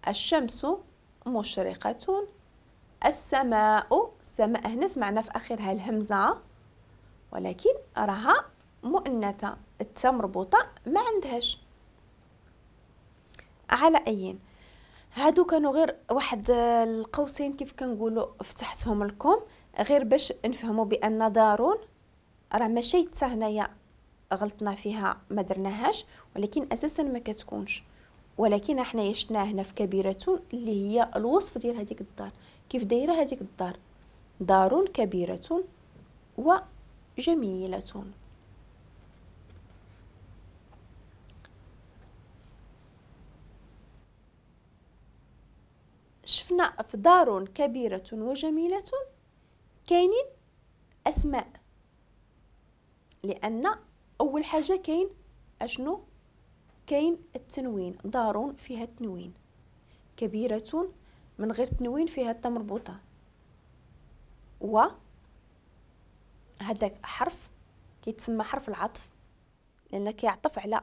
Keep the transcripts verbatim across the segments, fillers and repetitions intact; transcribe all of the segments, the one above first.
الشمس مشرقة، السماء، السماء هنا سمعنا في اخرها الهمزة ولكن راها مؤنثة، التاء مربوطة ما عندهاش. على اين هادو كانوا غير واحد القوسين كيف كنقولوا فتحتهم لكم غير باش نفهموا بان دارون راه ماشي حتى هنايا غلطنا فيها ما درناهاش، ولكن اساسا ما كتكونش، ولكن حنايا شفناها هنا في كبيرة اللي هي الوصف ديال هذيك الدار، كيف دايرة هذيك الدار، دار كبيرة وجميلة. شفنا في دار كبيرة وجميلة كاينين اسماء، لان اول حاجة كاين اشنو؟ كاين التنوين، دار فيها تنوين، كبيرة من غير تنوين فيها التاء مربوطة، و هذاك حرف كيتسمى حرف العطف لان كيعطف على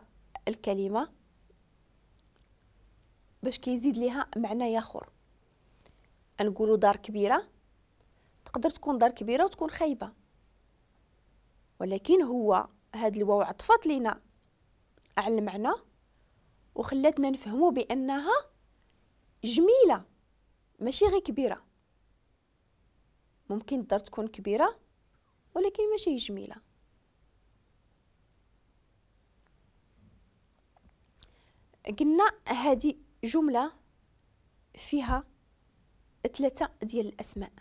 الكلمة باش كيزيد ليها معنى اخر. نقولوا دار كبيرة، تقدر تكون دار كبيرة وتكون خايبة، ولكن هو هاد الواو عطفت لينا على المعنى وخلاتنا نفهموا بانها جميلة ماشي غير كبيرة. ممكن الدار تكون كبيرة ولكن ماشي جميلة. قلنا هذه جملة فيها ثلاثة ديال الاسماء،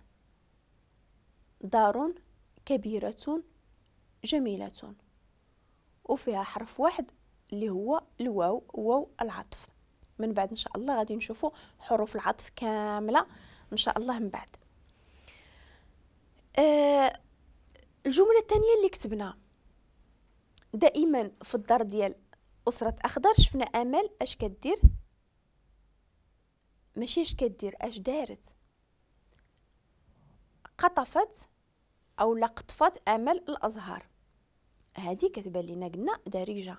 دار كبيرة جميلة، وفيها حرف واحد اللي هو الواو، واو العطف. من بعد ان شاء الله غادي نشوفوا حروف العطف كاملة ان شاء الله من بعد. آه الجملة الثانية اللي كتبنا دائما في الدار ديال اسره اخضر، شفنا امل اش كدير، ماشي اش كدير، اش دارت، قطفت او لا قطفت امل الازهار. هذه كتبان لينا قلنا دارجه،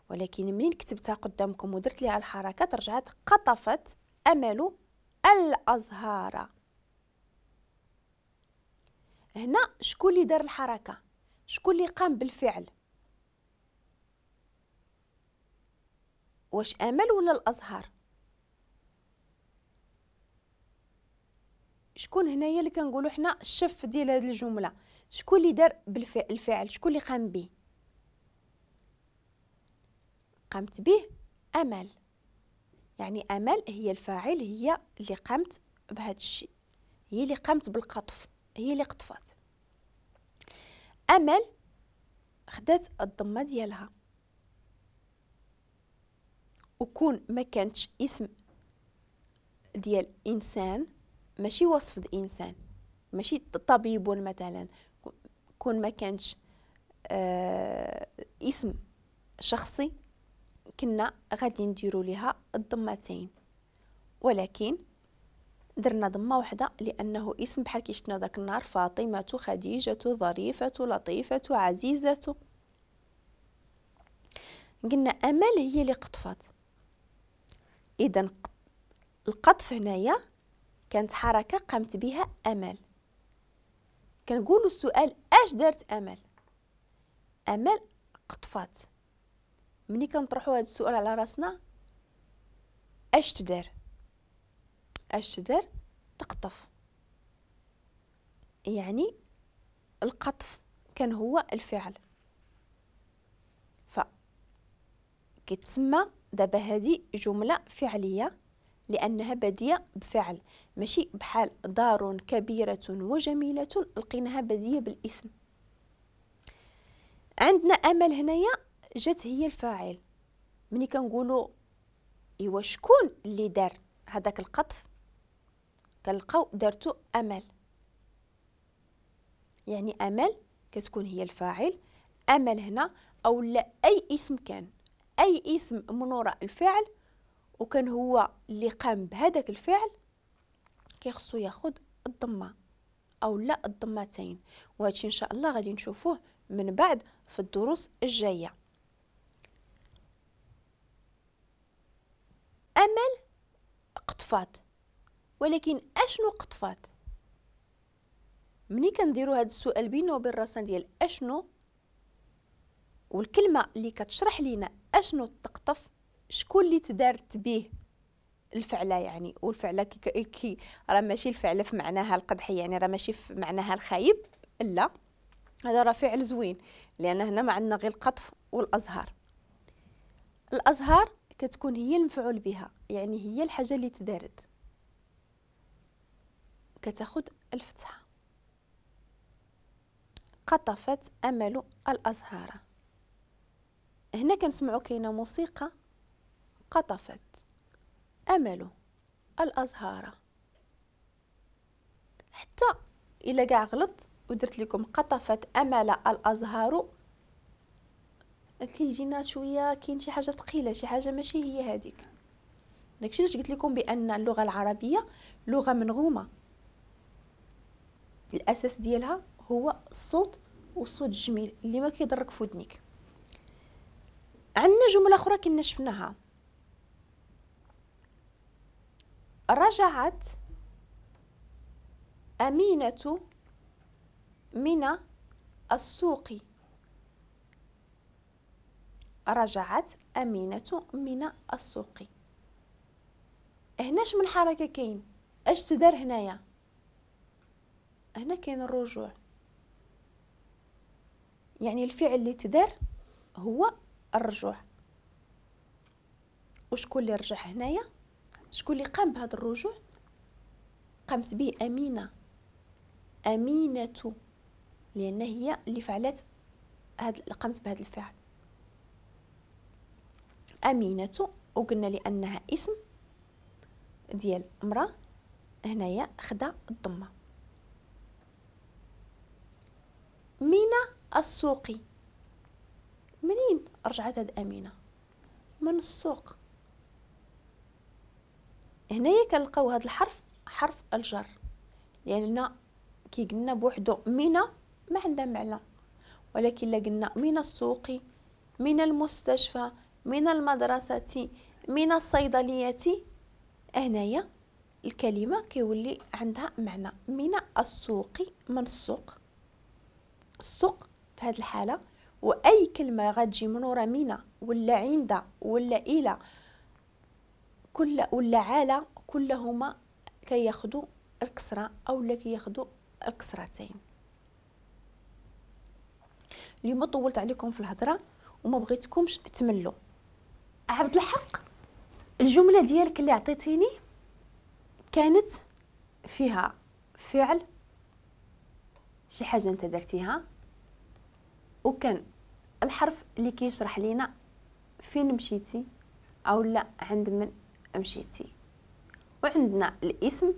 ولكن منين كتبتها قدامكم ودرت ليها الحركات رجعت قطفت امل الازهار. هنا شكون اللي دار الحركة؟ شكون اللي قام بالفعل؟ واش امل ولا الازهار؟ شكون هنايا اللي كنقولوا حنا الشف ديال هذه الجملة؟ شكون اللي دار بالفعل الفعل؟ شكون اللي قام به؟ قامت به امل، يعني امل هي الفاعل، هي اللي قامت بهذا الشيء، هي اللي قامت بالقطف، هي اللي قطفت. امل خدات الضمة ديالها، وكون ما كانتش اسم ديال انسان، ماشي وصف د انسان، ماشي طبيب مثلا، كون ما كانش آه اسم شخصي كنا غادي نديرو ليها الضمتين، ولكن درنا ضمه واحدة لانه اسم بحال كي شفنا داك النهار، فاطمة، خديجة، ظريفة، لطيفة، عزيزه. قلنا امل هي اللي قطفت، اذا القطف هنايا كانت حركة قامت بها امل. كنقولوا السؤال اش دارت امل؟ امل قطفات. ملي كنطرحوا هذا السؤال على راسنا اش تدار؟ اش تدار؟ تقطف، يعني القطف كان هو الفعل. ف كتسمى دابا هذه جملة فعليه لانها باديه بفعل، ماشي بحال دار كبيرة وجميلة لقيناها باديه بالاسم. عندنا امل هنايا جات هي الفاعل. ملي كنقولوا ايوا شكون اللي دار هذاك القطف، كنلقاو دارتو امل، يعني امل كتكون هي الفاعل. امل هنا او لا اي اسم كان، اي اسم من وراء الفعل وكان هو اللي قام بهذاك الفعل كيخصو ياخذ الضمة او لا الضمتين. وهادشي ان شاء الله غادي نشوفوه من بعد في الدروس الجاية. امل قطفات قطفات، ولكن اشنو قطفات؟ ملي كنديروا هذا السؤال بيننا وبين راسنا ديال اشنو، والكلمة اللي كتشرح لينا اشنو تقطف، شكون اللي تدارت به الفعلة يعني، والفعله كي, كي راه ماشي الفعلة في معناها القدحي، يعني راه ماشي في معناها الخايب، لا هذا راه فعل زوين، لان هنا ما عندنا غير القطف والازهار. الازهار كتكون هي المفعول بها، يعني هي الحاجة اللي تدارت، كتاخذ الفتحة. قطفت امل الازهار. هنا كنسمعوا كاينه موسيقى، قطفت امل الازهار. حتى الا كاع غلط ودرت لكم قطفت امل الازهار، كيجينا شوية كاين شي حاجة ثقيلة، شي حاجة ماشي هي هذيك. داكشي علاش قلت لكم بان اللغة العربية لغة منغومه، الاساس ديالها هو الصوت، والصوت الجميل اللي ما كيضرك في ودنيك. عندنا جملة اخرى كنا شفناها، رجعت امينه من السوق. رجعت امينه من السوق. هنا اش من حركة كاين؟ اش تدار هنايا؟ هنا كاين الرجوع، يعني الفعل اللي تدار هو الرجوع. وشكون اللي رجع هنايا؟ شكون اللي قام بهذا الرجوع؟ قامت به امينه، امينه لان هي اللي فعلت هاد، قامت بهذا الفعل امينه. وقلنا لانها اسم ديال امراة، هنايا خدا الضمة. من السوق، منين رجعت هاد امينه؟ من السوق. هنايا كنلقاو هاد الحرف حرف الجر، لان كي قلنا بوحدو من ما عندها معنى، ولكن لا قلنا من السوق، من المستشفى، من المدرسة، من الصيدلية، هنايا الكلمة كيولي عندها معنى. من السوق، من السوق، السوق في هذه الحالة. واي كلمة غتجي من ورا من ولا عند ولا الى كل ولا على، كلهما كياخذوا الكسرة او لا كياخذوا الكسرتين. اليوم طولت عليكم في الهضرة وما بغيتكمش تملوا. عبد الحق، الجملة ديالك اللي عطيتيني كانت فيها فعل، شي حاجة انت درتيها، وكان الحرف اللي كيشرح لينا فين مشيتي او لا عند من مشيتي، وعندنا الاسم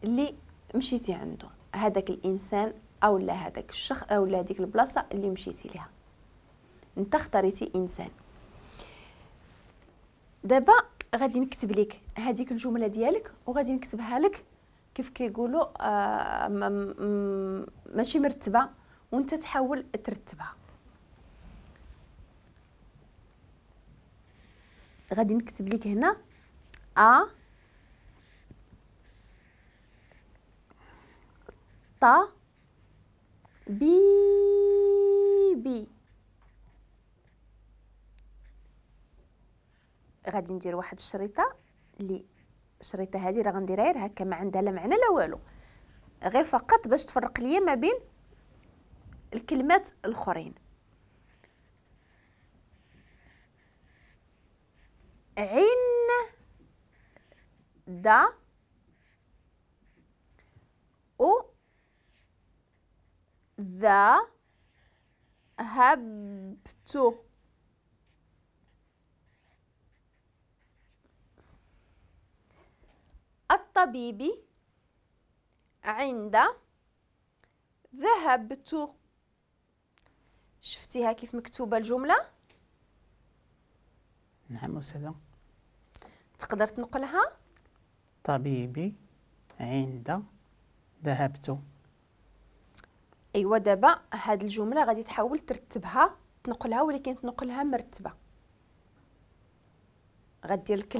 اللي مشيتي عنده، هذاك الانسان او لا هذاك الشخص او لا هذيك البلاصة اللي مشيتي ليها. انت اختاريتي انسان. دابا غادي نكتب لك هذيك الجملة ديالك، وغادي نكتبها لك كيف كيقولوا آه ماشي مرتبه، وانت تحاول ترتبها. غادي نكتب لك هنا ا ط بي بي. غادي ندير واحد الشريطه، اللي الشريطه هذه راه غنديرها غير هكا، ما عندها لا معنى لا والو، غير فقط باش تفرق ليا ما بين الكلمات الاخرين. عين دا او ذا هبت. الطبيب عند ذهبت. شفتيها كيف مكتوبة الجملة؟ نعم أستاذة. تقدر تنقلها؟ طبيبي عند ذهبت. ايوا دابا هاد الجملة غادي تحاول ترتبها، تنقلها، ولكن تنقلها مرتبة. غدير الكلمة